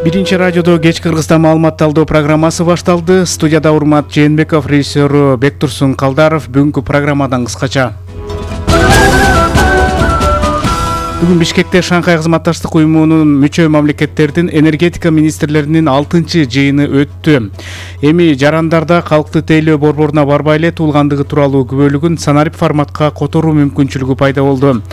Биринчи радиодо кеч Кыргызстан маалымат талдоо программасы башталды. Студияда Урмат Жээнбеков, режиссеру Бектурсун Калдаров. Бүгүнкү программадан кыскача. Бүгүн Бишкекте Шанхай кызматташтык уюмунун мүчө мамлекеттердин энергетика министрлеринин 6-жыйыны өттү. Эми жарандарда калкты тейлөө борборуна барбай эле туулгандыгы тууралуу күбөлүгүн санарип форматка которуу мүмкүнчүлүгү пайда болду.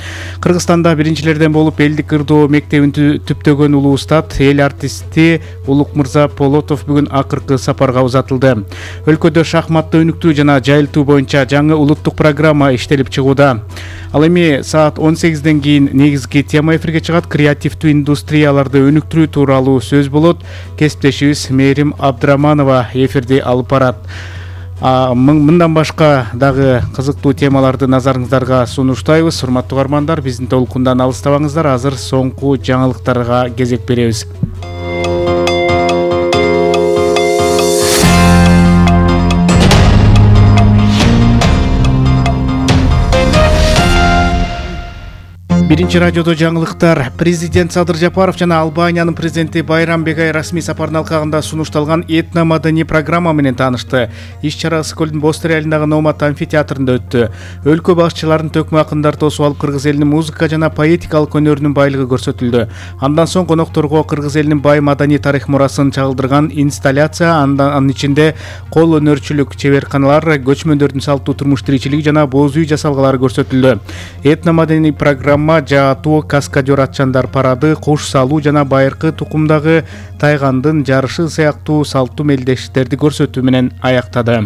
Кыргызстанда биринчилерден болуп элдик ырдоо мектебин түптөгөн улуу устат, эл артисти Улукмырза Полотов бүгүн акыркы сапарга узатылды. Өлкөдө шахматты өнүктүү жана жайылтуу боюнча жаңы улуттук программа иштелип чыгууда. Ал эми саат 18ден кийин негизги тема эфирге чыгат. Креативдүү индустрияларды өнүктүрүү тууралуу сөз болот. Кесиптешибиз Мээрим Абдыраманова эфирди алып барат. Мындан башка дагы кызыктуу темаларды назарыңыздарга сунуштайбыз. Урматтуу угармандар, биздин толкундан алыстабаңыздар. Азыр соңку жаңылыктарга кезек беребиз. Биринчи радиодо жаңылыктар. Президент Садыр Жапаров жана Албаниянын президенти Байрам Бегай расмий сапардын алкагында сунушталган этно-маданий программа менен таанышты. Иш-чара Ысык-Көлдүн Бостер айылындагы Номат амфитеатрында өттү. Өлкө башчыларынын төкмө акындары тосуп алып кыргыз элинин музыка жана поэтикалык өнөрүнүн байлыгы көрсөтүлдү. Андан соң конокторго кыргыз элинин бай маданий тарых мурасын чагылдырган инсталляция, анын ичинде кол өнөрчүлүк чеберканалар, көчмөндөрдүн салттуу турмуш тиричилиги жана боз үй жасалгалары көрсөтүлдү. Этно-маданий программа жаатуу, каскадер атчандар парады, куш салуу жана байыркы тукумдагы тайгандын жарышы сыяктуу салттуу мелдештерди көрсөтүү менен аяктады.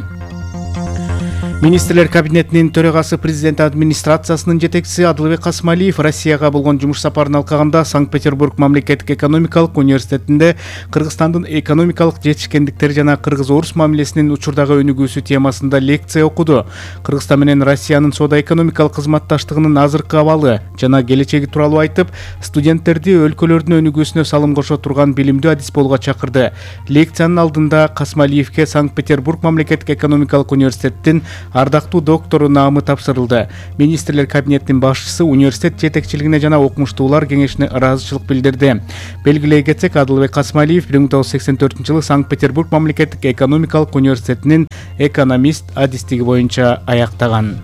Министрлер кабинетинин төрагасы президент администрациясынын жетекчиси Адылбек Касмалиев Россияга болгон жумуш сапарынын алкагында Санкт-Петербург мамлекеттик экономикалык университетинде Кыргызстандын экономикалык жетишкендиктери жана кыргыз-орус мамилесинин учурдагы өнүгүүсү темасында лекция окуду. Кыргызстан менен Россиянын соода-экономикалык кызматташтыгынын азыркы абалы жана келечеги тууралуу айтып, студенттерди өлкөлөрдүн өнүгүүсүнө салым кошо турган билимдүү адис болууга чакырды. Лекциянын алдында Касмалиевке Санкт-Петербург мамлекеттик экономикалык университеттин ардактуу доктору наамы тапшырылды. Министрлер кабинетинин башчысы университет жетекчилигине жана окумуштуулар кеңешине ыраазычылык билдирди. Белгилей кетсек, Адылбек Касмалиев 1984-жылы Санкт-Петербург мамлекеттик экономикалык университетинин экономист адистиги боюнча аяктаган.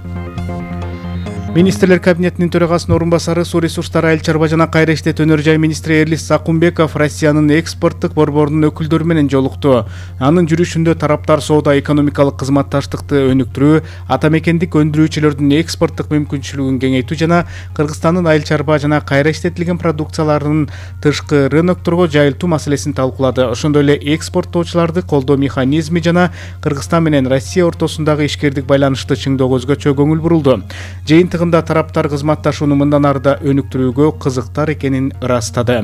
Министрлер кабинетинин төрагасынын орун басары, суу ресурстары, айыл чарба жана кайра иштетүү өнөр жай министри Эрлис Сакунбеков Россиянын экспорттук борборунун өкүлдөрү менен жолукту. Анын жүрүшүндө тараптар соода-экономикалык кызматташтыкты өнүктүрүү, ата мекендик өндүрүүчүлөрдүн экспорттук мүмкүнчүлүгүн кеңейтүү жана Кыргызстандын айыл чарба жана кайра иштетилген продукцияларынын тышкы рынокторго жайылтуу маселесин талкуулады. Ошондой эле экспорттоочуларды колдоо механизми жана Кыргызстан менен Россия ортосундагы ишкердик байланышты чыңдоого өзгөчө көңүл бурулду. Жыйынтыгында тараптар кызматташууну мындан ары да өнүктүрүүгө кызыктар экенин ырастады.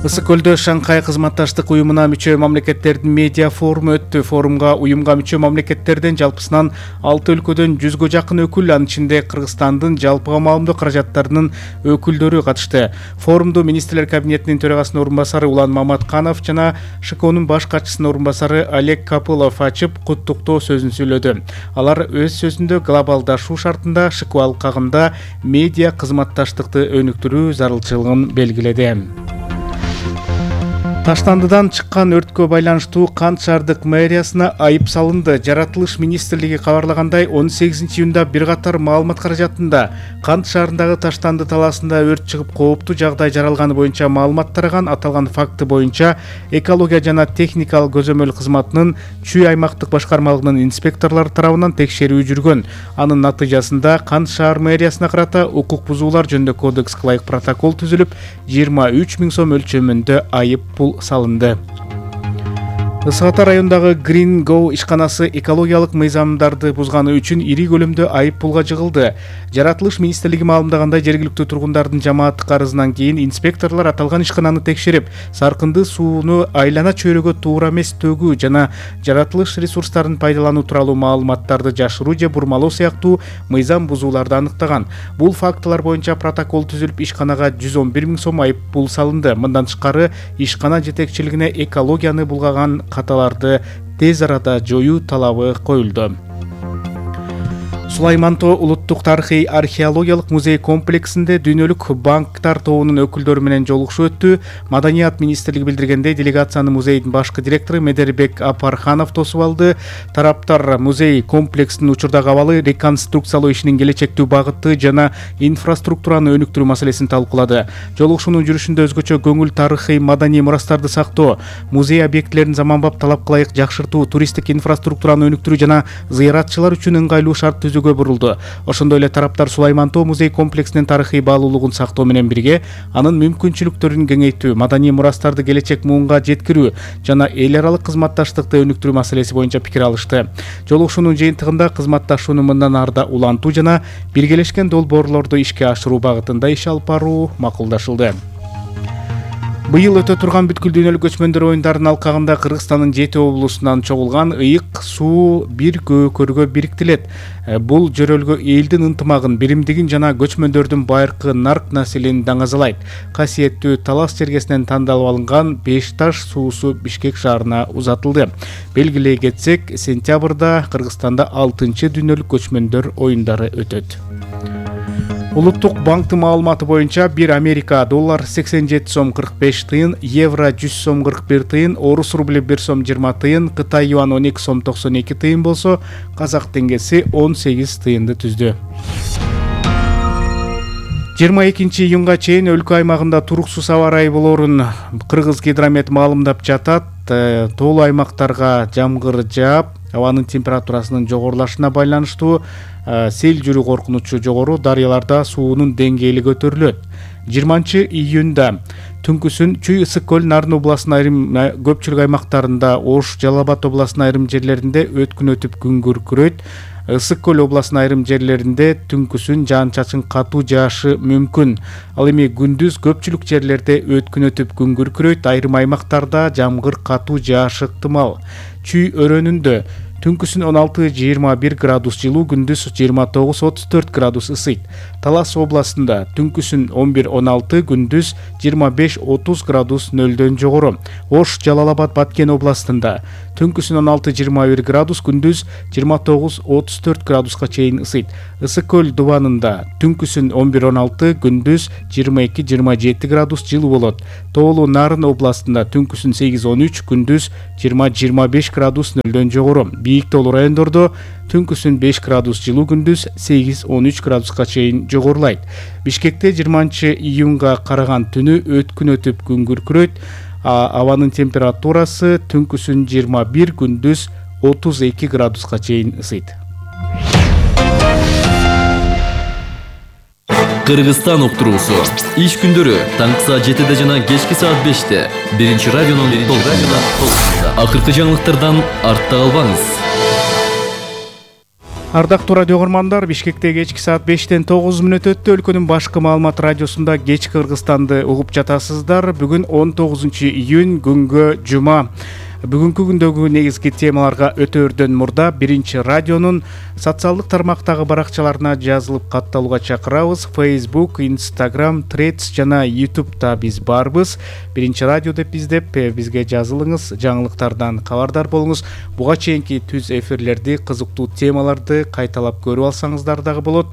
Ысык-Көлдө Шанхай кызматташтык уюмуна мүчө мамлекеттердин медиа форуму өттү. Форумга уюмга мүчө мамлекеттерден жалпысынан 6 өлкөдөн 100гө жакын өкүл, анын ичинде Кыргызстандын жалпыга маалымдоо каражаттарынын өкүлдөрү катышты. Форумду Министрлер кабинетинин төрагасынын орун басары Улан Маматканов жана ШКОнун баш катчысынын орун басары Олег Капылов ачып, куттуктоо сөзүн сүйлөдү. Алар өз сөзүндө глобалдашуу шартында ШКО алкагында медиа кызматташтыкты өнүктүрүү зарылчылыгын белгиледи. Таштандыдан чыккан өрткө байланыштуу Кант шаардык мэриясына айып салынды. Жаратылыш министрлиги кабарлагандай, 18-июнда бир катар маалымат каражатында Кант шаарындагы Таштанды талаасында өрт чыгып кооптуу жагдай жаралганы боюнча маалымат тараган. Аталган факты боюнча экология жана техникалык көзөмөл кызматынын Чүй аймактык башкармалыгынын инспекторлору тарабынан текшерүү жүргөн. Анын натыйжасында Кант шаар мэриясына карата укук бузуулар жөнүндө кодекске ылайык протокол түзүлүп, 23 000 сом өлчөмүндө айып пул салынды. Ысык-Ата районундагы Green Go ишканасы экологиялык мыйзамдарды бузганы үчүн ири көлөмдө айып пулга жыгылды. Жаратылыш министрлиги маалымдагандай, жергиликтүү тургундардын жамааттык арызынан кийин инспекторлор аталган ишкананы текшерип, саркынды сууну айлана чөйрөгө туура эмес төгүү жана жаратылыш ресурстарын пайдалануу тууралуу маалыматтарды жашыруу же бурмалоо сыяктуу мыйзам бузууларды аныктаган. Бул фактылар боюнча протокол түзүлүп, ишканага 111 000 сом айып пул салынды. Мындан тышкары ишкана жетекчилигине экологияны булгаган каталарды тез арада жоюу талабы коюлду. Сулайман Тоо улуттук тарыхый археологиялык музей комплексинде дүйнөлүк банктар тобунун өкүлдөрү менен жолугушуу өттү. Маданият министрлиги билдиргендей, делегацияны музейдин башкы директору Медербек Апарханов тосуп алды. Тараптар музей комплексинин учурдагы абалы, реконструкциялоо ишинин келечектүү багыты жана инфраструктураны өнүктүрүү маселесин талкуулады. Жолугушуунун жүрүшүндө өзгөчө көңүл тарыхый маданий мурастарды сактоо, музей объектилерин заманбап талапка ылайык жакшыртуу, туристтик инфраструктураны өнүктүрүү жана зыяратчылар үчүн ыңгайлуу шарт түзүүгө бурулду. Ошондой эле тараптар Сулайман Тоо музей комплексинин тарыхый баалуулугун сактоо менен бирге анын мүмкүнчүлүктөрүн кеңейтүү, маданий мурастарды келечек муунга жеткирүү жана эл аралык кызматташтыкты өнүктүрүү маселеси боюнча пикир алышты. Жолугушуунун жыйынтыгында кызматташууну мындан ары да улантуу жана биргелешкен долбоорлорду ишке ашыруу багытында иш алып баруу макулдашылды. Быйыл өтө турган бүткүл дүйнөлүк көчмөндөр оюндарынын алкагында Кыргызстандын 7 облусунан чогулган ыйык суу бир көкөргө бириктирилет. Бул жөрөлгө элдин ынтымагын, биримдигин жана көчмөндөрдүн байыркы нарк населин даңазалайт. Касиеттүү Талас чергесинен тандалып алынган 5 таш суусу Бишкек шаарына узатылды. Белгилей кетсек, сентябрда Кыргызстанда 6-чы дүйнөлүк көчмөндөр оюндары өтөт. Улуттук банктын маалыматы боюнча 1 Америка доллар 87 сом 45 тыйын, евро 100 сом 41 тыйын, орус рубли 1 сом 20 тыйын, Кытай юан 12 сом 92 тыйын болсо, казак теңгеси 18 тыйынды түздү. 22 июнга чейин өлкө аймагында туруксуз аба ырайы болоорун Кыргыз гидромет маалымдап жатат. Тоолуу аймактарга жамгыр жаап, абанын температурасынын жогорулашына байланыштуу сел жүрүү коркунучу жогору, дарыяларда суунун деңгээли көтөрүлөт. 20 июнда түнкүсүн Чүй ысык көл Нарын областынын айрым көпчүлүк аймактарында, Ош, Жалал Абад областынын айрым жерлеринде өткүн өтүп күн күркүрөйт. Ысык көл областынын айрым жерлеринде түнкүсүн жаан-чачын катуу жаашы мүмкүн. Ал эми күндүз көпчүлүк жерлерде өткүн өтүп күн күркүрөйт, айрым аймактарда жамгыр катуу жаашы ыктымал. Чүй өрөөнүндө түнкүсүн 16-21 градус жылуу, күндүз 29-34 градус ысыйт. Талас областында түнкүсүн 11-16, күндүз 25-30 градус нөлдөн жогору. Ош, Жалал Абад, Баткен областында түнкүсүн 16-21 градус, күндүз 29-34 градуска чейин ысыйт. Ысык көл дубанында түнкүсүн 11-16, күндүз 22-27 градус жылуу болот. Тоолуу Нарын областында түнкүсүн 8-13, күндүз 20-25 градус нөлдөн жогору. Бийик тоолуу райондордо түнкүсүн 5 градус жылуу, күндүз 8-13 градуска чейин жогорулайт. Бишкекте 20 июнга караган түнү өткүн өтүп күн күркүрөйт. Абанын температурасы түнкүсүн 21, күндүз 32 градуска чейин ысыйт. Кыргызстан уктуруусу. Иш күндөрү таңкы саат 7-де жана кечки саат 5-те. Биринчи радионун толкунунда. Акыркы жаңылыктардан артта калбаңыз. Ардактуу радио угармандар, Бишкекте кечки саат 5-тен 9 мүнөт өттү. Өлкөнүн башкы маалымат радиосунда кечки Кыргызстанды угуп жатасыздар. Бүгүн 19 июнь, күнгө жума. Бүгүнкү күндөгү негизги темаларга өтөөрдөн мурда биринчи радионун социалдык тармактагы баракчаларына жазылып катталууга чакырабыз. Facebook, Instagram, Threads жана YouTube'да биз барбыз. Биринчи радио деп издеп бизге жазылыңыз, жаңылыктардан кабардар болуңуз. Буга чейинки түз эфирлерди, кызыктуу темаларды кайталап көрүп алсаңыздар дагы болот.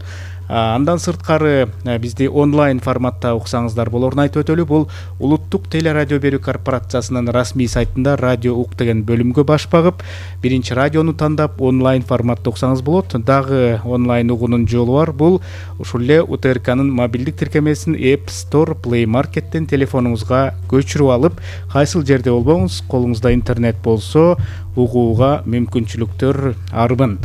Андан сырткары бизди онлайн форматта уксаңыздар болорун айтып өтөлү. Бул улуттук телерадио берүү корпорациясынын расмий сайтында радио ук деген бөлүмгө баш багып, биринчи радиону тандап онлайн форматта уксаңыз болот. Дагы онлайн угуунун жолу бар. Бул ушул эле УТРКнын мобилдик тиркемесин App Store, Play Market'тен телефонуңузга көчүрүп алып, кайсыл жерде болбоңуз, колуңузда интернет болсо, угууга мүмкүнчүлүктөр арбын.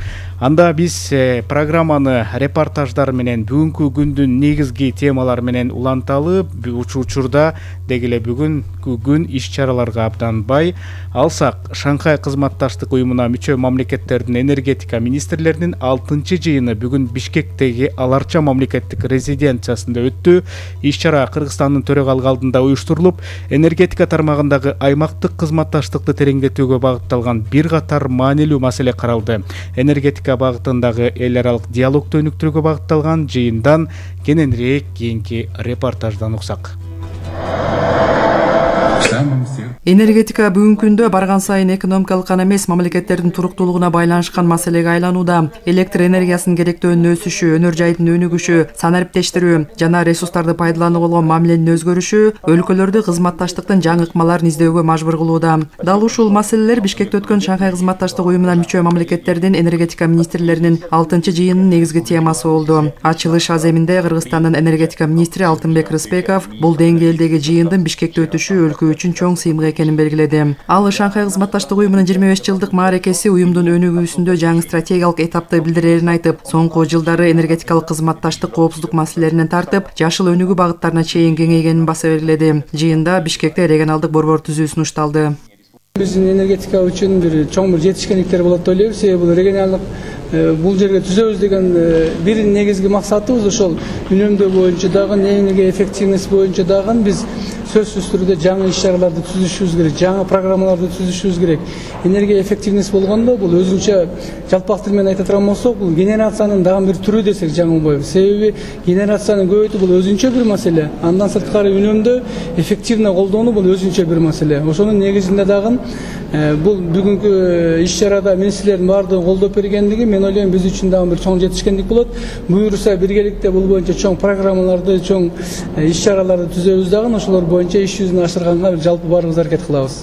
Анда биз программаны репортаждар менен, бүгүнкү күндүн негизги темалары менен уланталы. Учурда деги эле бүгүнкү күн иш-чараларга абдан бай. Алсак, Шанхай кызматташтык уюмуна мүчө мамлекеттердин энергетика министрлеринин 6-жыйыны бүгүн Бишкектеги Аларча мамлекеттик резиденциясында өттү. Иш-чара Кыргызстандын төрагалык алдында уюштурулуп, энергетика тармагындагы аймактык кызматташтыкты тереңдетүүгө багытталган бир катар маанилүү маселе каралды. Энергетика багытындагы эл аралык диалогду өнүктүрүүгө багытталган жыйындан кененирээк кийинки репортаждан уксак. Энергетика бүгүнкү күндө барган сайын экономикалык гана эмес, мамлекеттердин туруктуулугуна байланышкан маселеге айланууда. Электр энергиясынын керектөөнүн өсүшү, өнөр жайдын өнүгүшү, санариптештирүү жана ресурстарды пайдаланууга болгон мамиленин өзгөрүшү өлкөлөрдү кызматташтыктын жаңы ыкмаларын издөөгө мажбур кылууда. Дал ушул маселелер Бишкекте өткөн Шанхай кызматташтык уюмуна мүчө мамлекеттердин энергетика министрлеринин 6-жыйынынын негизги темасы болду. Ачылыш аземинде Кыргызстандын энергетика министри Алтынбек Рыспеков бул деңгээлдеги жыйындын Бишкекте өтүшү өлкө үчүн чоң сыймык экенин белгиледи. Ал Шанхай кызматташтык уюмунун 25 жылдык мааракеси уюмдун өнүгүүсүндө жаңы стратегиялык этапты билдирерин айтып, соңку жылдары энергетикалык кызматташтык коопсуздук маселелеринен тартып, жашыл өнүгүү багыттарына чейин кеңейгенин баса белгиледи. Жыйында Бишкекте регионалдык борбор түзүү сунушталды. Биздин энергетика үчүн чоң жетишкендиктер болот деп ойлойбуз. Себеби бул регионалдык бул жерге түзөбүз деген бир негизги максатыбыз ошол үнөмдөө боюнча дагы, энергия эффективность боюнча дагы биз сөзсүз түрдө жаңы иш-чараларды түзүшүбүз керек, жаңы программаларды түзүшүбүз керек. Энергия эффективность болгондо бул өзүнчө жалпак тил менен айта турган болсок, бул генерациянын дагы бир түрү десек жаңы болбойбу. Себеби генерацияны көбөйтүү бул өзүнчө бир маселе. Андан сырткары үнөмдөө эффективно колдонуу бул өзүнчө бир маселе. Ошонун негизинде дагы бул бүгүнкү иш-чарада министрлердин баардыгы колдоп бергендиги мен ойлойм биз үчүн дагы бир чоң жетишкендик болот. Буюрса биргеликте бул боюнча чоң программаларды, чоң иш-чараларды түзөбүз дагы, ошолор боюнча иш жүзүн ашырганга жалпы баарыбыз аракет кылабыз.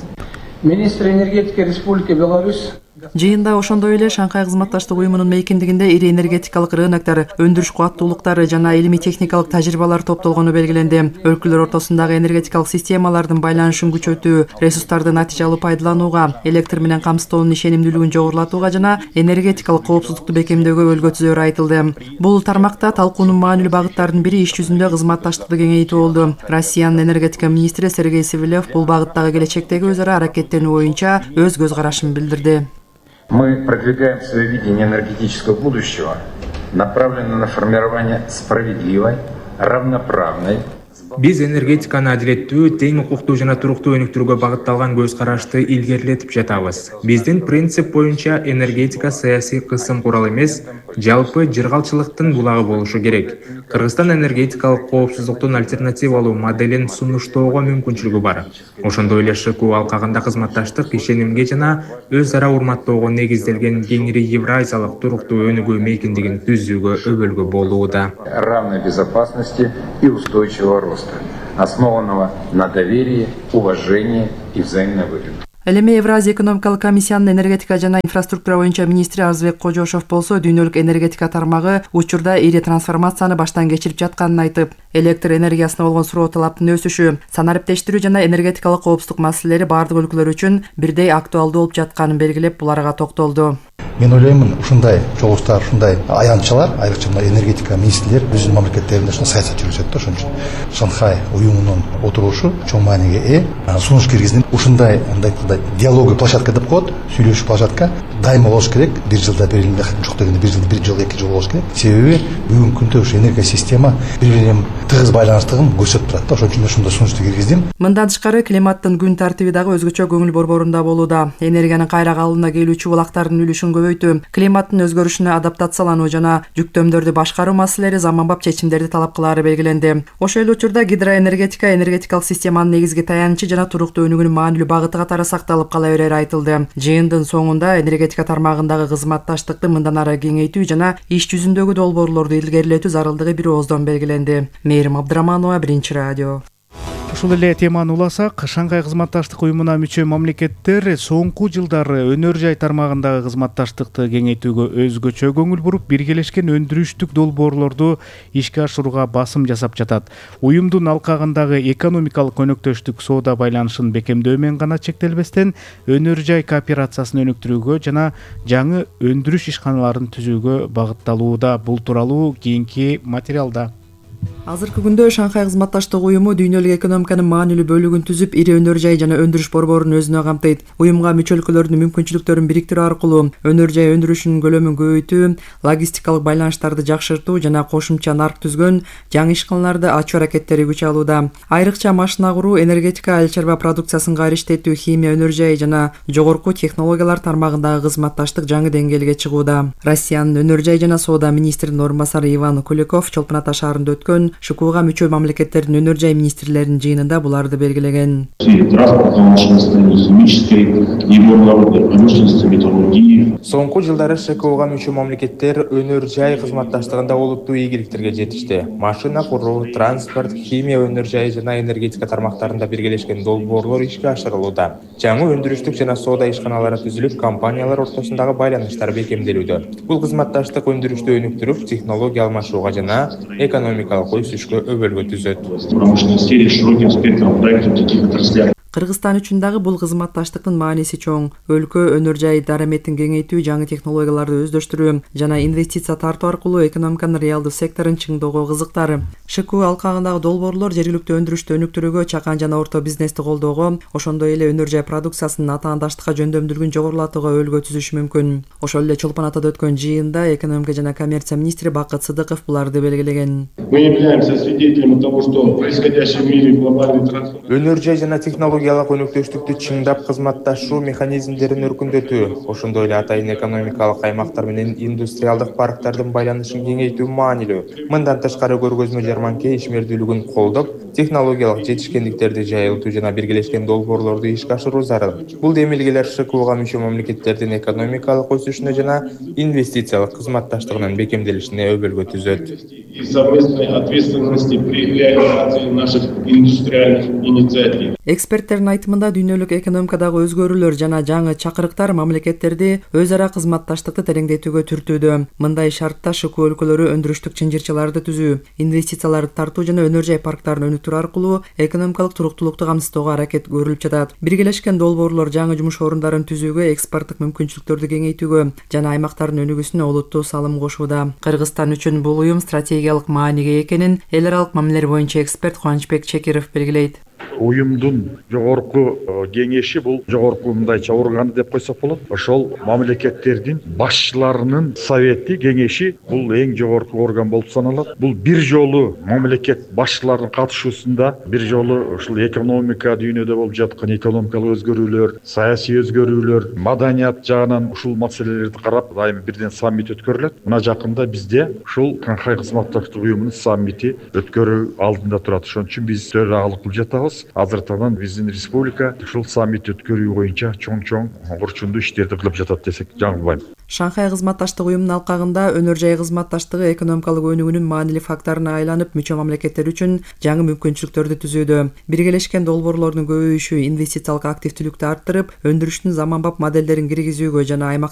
Министр энергетики Республика Беларусь. Жыйында ошондой эле Шанхай кызматташтык уюмунун мейкиндигинде ири энергетикалык рыноктор, өндүрүш кубаттуулуктары жана илимий техникалык тажрыйбалар топтолгону белгиленди. Өлкөлөр ортосундагы энергетикалык системалардын байланышын күчөтүү, ресурстарды натыйжалуу пайдаланууга, электр менен камсыздоонун ишенимдүүлүгүн жогорулатууга жана энергетикалык коопсуздукту бекемдөөгө өлгө түзөөрү айтылды. Бул тармакта талкуунун маанилүү багыттарынын бири иш жүзүндө кызматташтыкты кеңейтүү болду. Россиянын энергетика министри Сергей Сивилев бул багыттагы келечектеги өз ара аракеттенүү боюнча өз көз карашын билдирди. Мы продвигаем свое видение энергетического будущего, направленное на формирование справедливой, равноправной. Биз энергетиканы адилеттүү, тең укуктуу жана туруктуу өнүктүрүүгө багытталган көз карашты илгерилетип жатабыз. Биздин принцип боюнча энергетика саясий кысым курал эмес, жалпы жыргалчылыктын булагы болушу керек. Кыргызстан энергетикалык коопсуздуктун альтернативалуу моделин сунуштоого мүмкүнчүлүгү бар. Ошондой эле ШКУ алкагында кызматташтык ишенимге жана өз ара урматтоого негизделген кеңири евразиялык туруктуу өнүгүү мейкиндигин түзүүгө өбөлгө болууда. Равной безопасности и устойчивого роста, основанного на доверии, уважении и взаимной выгоде. Элеме Евразия экономикалык комиссиянын энергетика жана инфраструктура боюнча министри Арзбек Кожошов болсо, дүйнөлүк энергетика тармагы учурда ири трансформацияны баштан кечирип жатканын айтып, электр энергиясына болгон суроо талаптын өсүшү, санариптештирүү жана энергетикалык коопсуздук маселелери бардык өлкөлөр үчүн бирдей актуалдуу болуп жатканын белгилеп, буларга токтолду. Мен ойлоймун, ушундай чогулуштар, ушундай аянтчалар, айрыкча энергетика министрлер өзүнүн мамлекеттеринде ушундай саясат жүргүзөт да, ошон үчүн Шанхай уюмунун отурушу чоң мааниге ээ. Сунуш киргизип, ушундай диалогия площадка деп коет, сүйлөшүү площадка дайыма болуш керек. Бир жылда бир жок дегенде бир жыл, 2 жыл болуш керек. Себеби бүгүнкү күндө ушу энергия система бири менен тыгыз байланыштыгын көрсөтүп турат да, ошон үчүн ушундай сунушту киргиздим. Мындан тышкары климаттын күн тартиби дагы өзгөчө көңүл борборунда болууда. Энергиянын кайра калыбына келүүчү булактардын үлүшүн көбөйтүү, климаттын өзгөрүшүнө адаптациялануу жана жүктөмдөрдү башкаруу маселелери заманбап чечимдерди талап кылаары белгиленди. Ошол эле учурда гидроэнергетика энергетикалык системанын негизги таянычы жана туруктуу өнүгүүнүн маанилүү багыты катары сакталып кала берери айтылды. Жыйындын соңунда энергетика тармагындагы кызматташтыкты мындан ары кеңейтүү жана иш жүзүндөгү долбоорлорду илгерилетүү зарылдыгы бир ооздон белгиленди. Мээрим Абдыраманова, Биринчи радио. Ушул эле теманы уласак, Шанхай кызматташтык уюмуна мүчө мамлекеттер соңку жылдары өнөр жай тармагындагы кызматташтыкты кеңейтүүгө өзгөчө көңүл буруп, биргелешкен өндүрүштүк долбоорлорду ишке ашырууга басым жасап жатат. Уюмдун алкагындагы экономикалык өнөктөштүк соода байланышын бекемдөө менен гана чектелбестен, өнөр жай кооперациясын өнүктүрүүгө жана жаңы өндүрүш ишканаларын түзүүгө багытталууда. Бул тууралуу кийинки материалда. Азыркы күндө Шанхай кызматташтык уюму дүйнөлүк экономиканын маанилүү бөлүгүн түзүп, ири өнөр жай жана өндүрүш борборун өзүнө камтыйт. Уюмга мүчө өлкөлөрдүн мүмкүнчүлүктөрүн бириктирүү аркылуу өнөр жай өндүрүшүнүн көлөмүн көбөйтүү, логистикалык байланыштарды жакшыртуу жана кошумча нарк түзгөн жаңы ишканаларды ачуу аракеттери күч алууда. Айрыкча машина куруу, энергетика, айыл чарба продукциясын кайрыштетүү, химия, өнөр жай жана жогорку технологиялар тармагындагы кызматташтык жаңы деңгээлге чыгууда. Россиянын өнөр жай жана соода министринин орун басары Иван Куликов Чолпон Ата шаарында өткөн өткөн ШКУга мүчө мамлекеттердин өнөр жай министрлеринин жыйынында буларды белгилеген. Соңку жылдары ШКУга мүчө мамлекеттер өнөр жай кызматташтыгында олуттуу ийгиликтерге жетишти. Машина куруу, транспорт, химия өнөр жайы жана энергетика тармактарында биргелешкен долбоорлор ишке ашырылууда. Жаңы өндүрүштүк жана соода ишканалары түзүлүп, компаниялар ортосундагы байланыштар бекемделүүдө. Бул кызматташтык өндүрүштү өнүктүрүп, технология алмашууга жана экономикалык өсүшкө өбөлгө түзөт. Кыргызстан үчүн дагы бул кызматташтыктын мааниси чоң. Өлкө өнөр жай дараметин кеңейтүү, жаңы технологияларды өздөштүрүү жана инвестиция тартуу аркылуу экономиканын реалдуу секторун чыңдоого кызыктар. ШКУ алкагындагы долбоорлор жергиликтүү өндүрүштү өнүктүрүүгө, чакан жана орто бизнести колдоого, ошондой эле өнөр жай продукциясынын атаандаштыкка жөндөмдүүлүгүн жогорулатууга өлгө түзүшү мүмкүн. Ошол эле Чолпон Атада өткөн жыйында экономика жана коммерция министри Бакыт Сыдыков буларды белгилеген. Өнөр жай жана технологиялык өнүктүштүктү чыңдап кызматташуу механизмдерин өркүндөтүү, ошондой эле атайын экономикалык аймактар менен индустриалдык парктардын байланышын кеңейтүү маанилүү. Мындан тышкары көргөзмө жарманка ишмердүүлүгүн колдоп, технологиялык жетишкендиктерди жайылтуу жана биргелешкен долбоорлорду ишке ашыруу зарыл. Бул демилгелер ШКУга мүчө мамлекеттердин экономикалык өсүшүнө жана инвестициялык кызматташтыгынын бекемделишине өбөлгө түзөт. Эксперттердин айтымында дүйнөлүк экономикадагы өзгөрүүлөр жана жаңы чакырыктар мамлекеттерди өз ара кызматташтыкты тереңдетүүгө түртүүдө. Мындай шартта ШКУ өлкөлөрү өндүрүштүк чынжырчаларды түзүү, инвестицияларды тартуу жана өнөр жай парктарын өнүктүрүү аркылуу экономикалык туруктуулукту камсыздоого аракет көрүлүп жатат. Биргелешкен долбоорлор жаңы жумуш орундарын түзүүгө, экспорттук мүмкүнчүлүктөрдү кеңейтүүгө жана аймактардын өнүгүүсүнө олуттуу салым кошууда. Кыргызстан үчүн бул уюм стратегиялык мааниге экенин эл аралык мамилелер боюнча эксперт Кубанычбек Чекиров белгилейт. Уюмдун жогорку кеңеши бул жогорку мындайча органы деп койсок болот. Ошол мамлекеттердин башчыларынын совети, кеңеши бул эң жогорку орган болуп саналат. Бул бир жолу мамлекет башчыларынын катышуусунда бир жолу ушул экономика дүйнөдө болуп жаткан экономикалык өзгөрүүлөр, саясий өзгөрүүлөр, маданият жагынан ушул маселелерди карап, дайыма бирден саммит өткөрүлөт. Мына жакында бизде ушул Шанхай кызматташтык уюмунун саммити өткөрүү алдында турат. Ошон үчүн биз төрагылык кылып жатабыз. Азыртадан биздин республика ушул саммит өткөрүү боюнча чоң орчундуу иштерди кылып жатат десек жаңылбайм. Шанхай кызматташтык уюмунун алкагында өнөр жай кызматташтыгы экономикалык өнүгүүнүн маанилүү факторуна айланып, мүчө мамлекеттер үчүн жаңы мүмкүнчүлүктөрдү түзүүдө. Биргелешкен долбоорлордун көбөйүшү инвестициялык активдүүлүктү арттырып, өндүрүштүн заманбап моделдерин киргизүүгө жана аймактар